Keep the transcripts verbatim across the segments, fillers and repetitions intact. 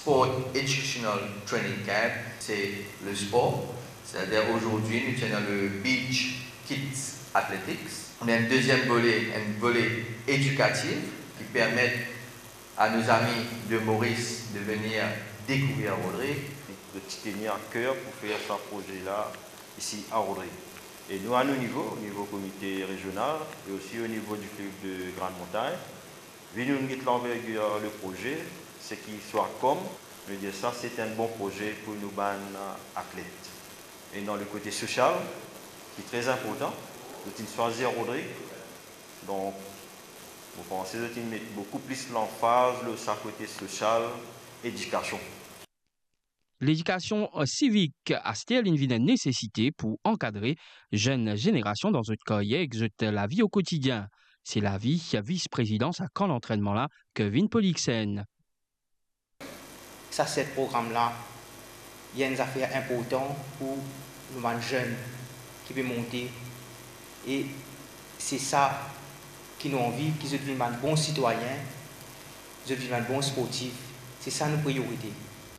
Sport Educational Training Camp, c'est le sport. C'est-à-dire aujourd'hui, nous tenons le Beach Kids Athletics. On a un deuxième volet, un volet éducatif qui permet à nos amis de Maurice de venir découvrir Rodrigue. Nous tenons à cœur pour faire ce projet-là ici à Rodrigue. Et nous, à nos niveaux, au niveau comité régional et aussi au niveau du club de Grande Montagne, vi nou get lanvergir le proze, seki swa kom nou dir sa, se enn bon proze pou nou bann atlet. E dan le kote sosial, ki tre inportan, nou ti swazir Rodrigue, donk, mo panse nou ti met boukou plis lanfaz lor sa kote sosial, edikasion. Ledikasion, eh, sivik aster inn vinn enn nesesite pou ankadre zenn zenerasion dan zot karyer ek zot lavi o kotidien. Se lavi vis-prezidan sa kan lantrennman la, Kevin Polixen. Sa, se program la, li enn zafer inportan pou nou bann zenn ki pe monte, e se sa ki nou anvi, ki zot vinn bann bon sitwayin, zot vinn bann bon sportif, se sa nou priyorite.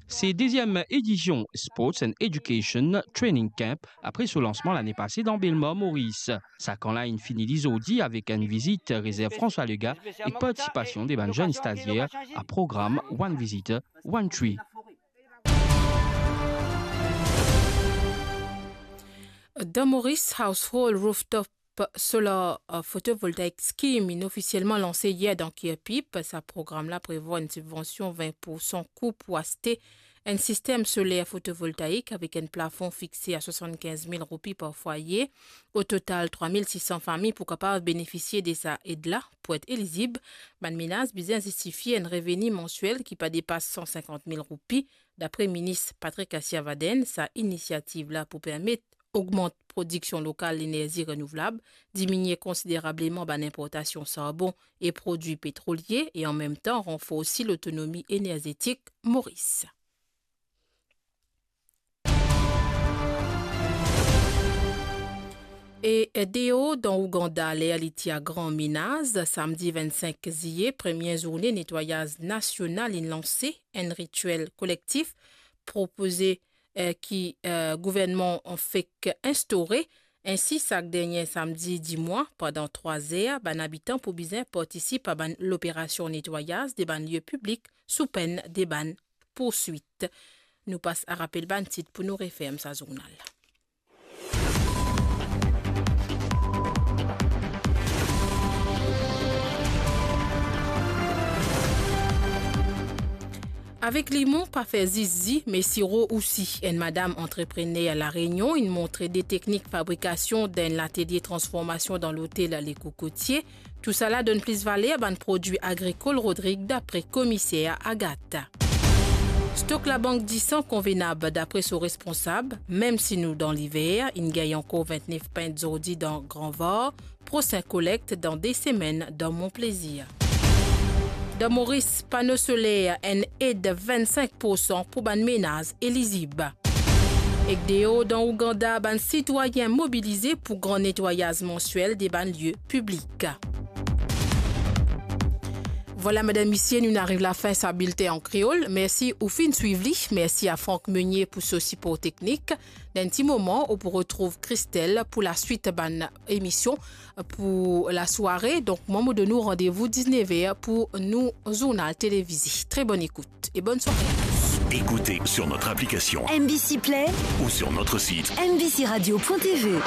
Se deziem edision Sports and Education Training Camp apre so lansman lane pase dan Belmar, Moris. Sa kan la inn fini li zordi avek enn vizit rezerv François Legaye ek partisipasion de bann zenn stazier a program One Visitor, One Tree. Dan Moris, Household Rooftop Solar, euh, Photovoltaic Scheme inn ofisielman lanse yer dan Kirpip. Sa program la prevwar enn sibvansion vin poursan kou pou aste enn sistem soler fotovoltaik avek enn plafon fixe a swasannkinz mil roupi par fwaye. O total, trwa mil sis san fami pou kapav benefisie de sa ed la. Pou et elizib, bann menaz bizin zistifie enn reveni mansiel ki pa depas san sinkant mil roupi. Dapre minis Patrick Kassiavadène, sa inisiativ la pou permet ogmant prodiksion lokal lenerzi renouvlab, diminie konsiderableman bann inportasion sarbon e prodwi petrolie e anmemtan ranforsi lotonomi enerzetik Moris. E, e, deor dan Ouganda, ler li ti a gran menaz, samdi vinn-sink ziye, premie zourne netwayaz nasional inn lanse. Enn ritiel kolektif propoze, eh, ki, eh, gouvernman fek instaure. Ensi, sak dernie samdi di mwa, pandan trwa zer, bann abitan pou bizin partisip a bann loperasion netwayaz de bann lie piblik sou penn de bann pourswit. Nou pas a rapel bann tit pou nou referm sa zournal. Avek limon, pa fer zis zi, me siro osi. Enn madam antreprener La Reunion inn montre de teknik fabrikasion dan enn latelie transformasion dan lotel Le Cocotier. Tousala donn plis valer bann prodwi agrikol Rodrig, dapre komiser Agathe. Stok Labank Disan konvenab, dapre so responsab, mem si nou dan liver, inn gagn ankor vintnef pint zordi dan Gran Var, prosin kolekt dan de semenn dan Mont Plaisir. Dan Moris, pano soler, enn ed vinn-sink poursan pou bann menaz elizib. Ek deor dan Ouganda, bann sitwayin mobilize pou gran netwayaz mansiel de bann lie piblik. Vwala, medam, misie, nou inn ariv lafin sa bilten an kreol. Mersi ou finn swiv li. Mersi a Franck Meunier pou so sipor teknik. Dan enn ti moman, ou pou retrouv Christelle pou laswit bann emision pou lasware. Donk, mwa, mo donn ou randevou diz-nef er pou nou zournal televize. Tre bonn ekout e bonn sware a tous. Écoutez sur notre application M B C Play ou sur notre site M B C radio point T V.